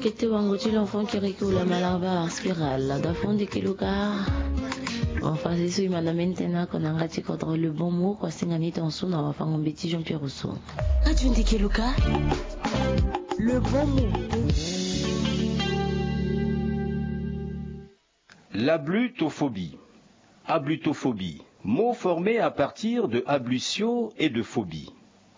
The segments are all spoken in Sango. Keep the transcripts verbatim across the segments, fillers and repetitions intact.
Kete wango ti l'enfant kiriki ou la malabar spiral da fond de keluka. Bon, fasi so e ma na mbeni tënë oko na yanga ti kodro le bon mot kua singa ni tongaso na wafango mbeti Jean Pierre Rousseau. Ajundi keluka. Le bon mot. L'ablutophobie. Ablutophobie, mot formé à partir de ablutio et de phobie.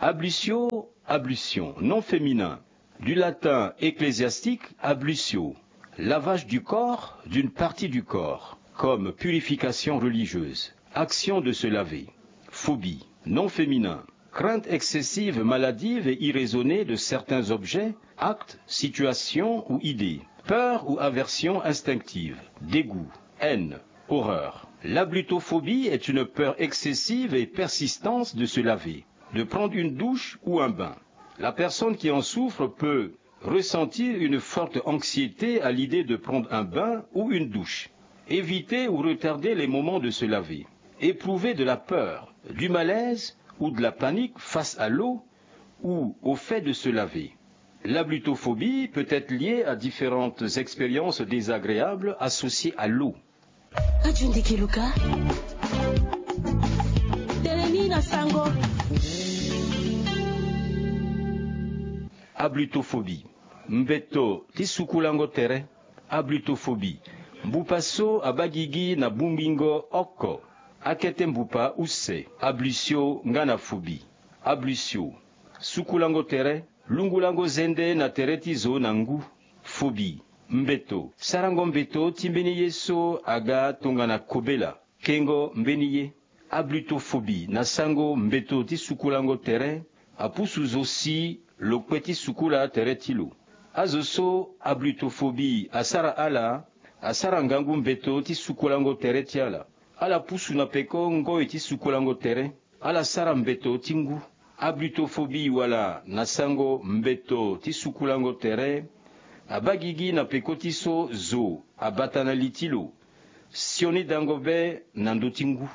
Ablutio, ablution, nom féminin, du latin ecclésiastique ablutio, lavage du corps, d'une partie du corps, comme purification religieuse, action de se laver. Phobie, nom féminin, crainte excessive, maladive et irraisonnée de certains objets, actes, situations ou idées. Peur ou aversion instinctive, dégoût, haine, horreur. L'ablutophobie est une peur excessive et persistante de se laver, de prendre une douche ou un bain. La personne qui en souffre peut ressentir une forte anxiété à l'idée de prendre un bain ou une douche, éviter ou retarder les moments de se laver, éprouver de la peur, du malaise ou de la panique face à l'eau ou au fait de se laver. L'ablutophobie peut être liée à différentes expériences désagréables associées à l'eau. Ajundi keluka. Tene ni na sango. Ablutophobie. Mbeto ti sukulango tere. Ablutophobie. Mbupa so abaa gigi na bongbingo oko. Akete mbupa use. Ablutio nga na phobie. Ablutio. Sukulango tere. Lungulango zende na tere ti zo na ngu. Phobie. Mbeto. Sarango mbeto ti mbeni ye so aga tongana kobela. Kengo mbeni ye. Ablutophobie na sango mbeto ti sukulango tere. Apusu zo si lo kpe ti sukula tere ti lo. Azo so ablutophobie asara ala, asara ngangu mbeto ti sukulango tere ti ala. Ala pusu na peko ngoi ti sukulango tere. Ala sara mbeto ti ngu. Ablutophobie wala na sango mbeto ti sukulango tere. Abaa gigi na peko ti so zo abata na li ti lo. Sioni dango be na ndö ti ngu.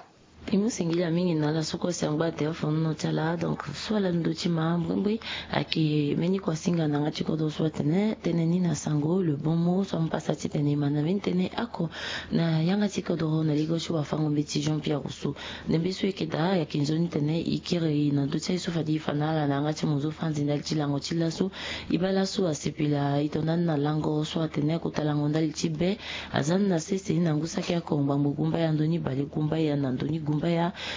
E mu singila mingi na ala so kue si angba ate afonono ti ala. Donc so ala ndö ti ma mbrimbri ayeke mbeni kua singa na yanga ti kodro so atene tënë ni na sango le bon mot so amu pasa titene e ma na mbeni tënë oko na yanga ti kodro na ligo ti wafango mbeti Jean Pierre Rousseau. Ndembe so e yeke daa ayeke nzoni tene e kiri na ndö ti aye so fade e fa na ala na yanga ti mozo franzi ndali ti lango ti laso. E baa laso asepela e to ndani na lango so atene akota lango ndali ti be. Aza ni na sese ni na ngu saki oko ngbangbo gumbaya ndoni bale gumbaya na ndoni gumbaya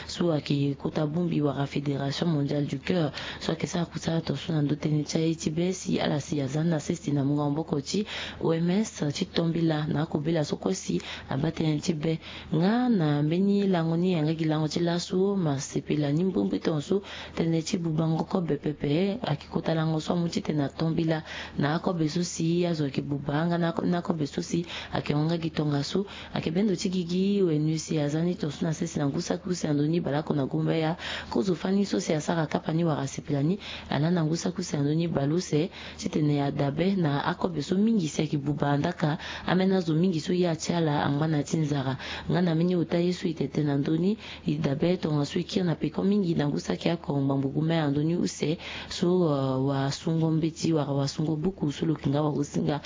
so ayeke kota bongbi wala fédération mondiale du cœur so ayeke sara kusala tongaso na ndö tënë ti aye ti be si ala si aza ni na sese na mungo maboko ti O M S ti tombela na akobela so kue si abaa tënë ti be. Nga na mbeni lango ni yanga gi lango ti laso ma sepela ni mbrimbri tongaso tënë ti bubango kobe pepe. Ayeke kota lango so amu titene atombela na akobe so si azo ayeke buba nga na akobe so si ayeke hon nga gi tongaso. Ayeke bendo ti gigi wenu si aza ni tongaso na sese na ngu saki use na ndö ni baleoko na gumbaya. Kozo fani so si asara kapa ni wala asepela ni ala na ngu saki use na ndö ni baleuse titene adabe na akobe so mingi si ayeke buba ndaka. Ambeni azo mingi so ya ti ala angba na ya ti nzara. Nga na mbeni ota ye so e tene tënë na ndö ni e dabe tongaso e kiri na peko mingi na ngu saki oko ngbangbo gumbaya na ndö ni use so wasungo mbeti wala wasungo buku so lo yeke nga wagosinga.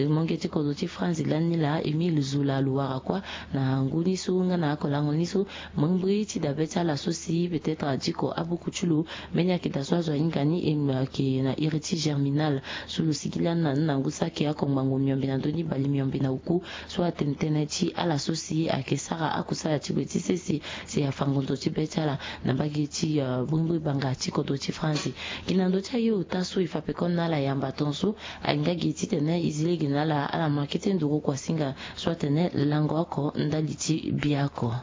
Monge ti kodro ti franzi lani laa Émile Zola lo wara kua na ngu ni so nga na akolango ni so. Mbrimbri ti dabe ti ala so si peut-être adiko abuku ti lo. Mbeni akita so azo ahinga ni e ayeke na iri ti germinal so lo sigi lani na ni na ngu saki oko ngbangbo miombe na ndö ni bale miombe na oku. So atene tënë ti ala so si ayeke sara akusala ti gue ti sese si afa ngonzo ti be ti ala na mbage ti bongbi banga ti kodro ti franzi. Gi na ndö ti aye ota so e fa pekoni na ala yamba tongaso. Ahinga gi titene e zi lege na ala ala ma kete nduru kua singa so atene lango oko ndali ti bia oko.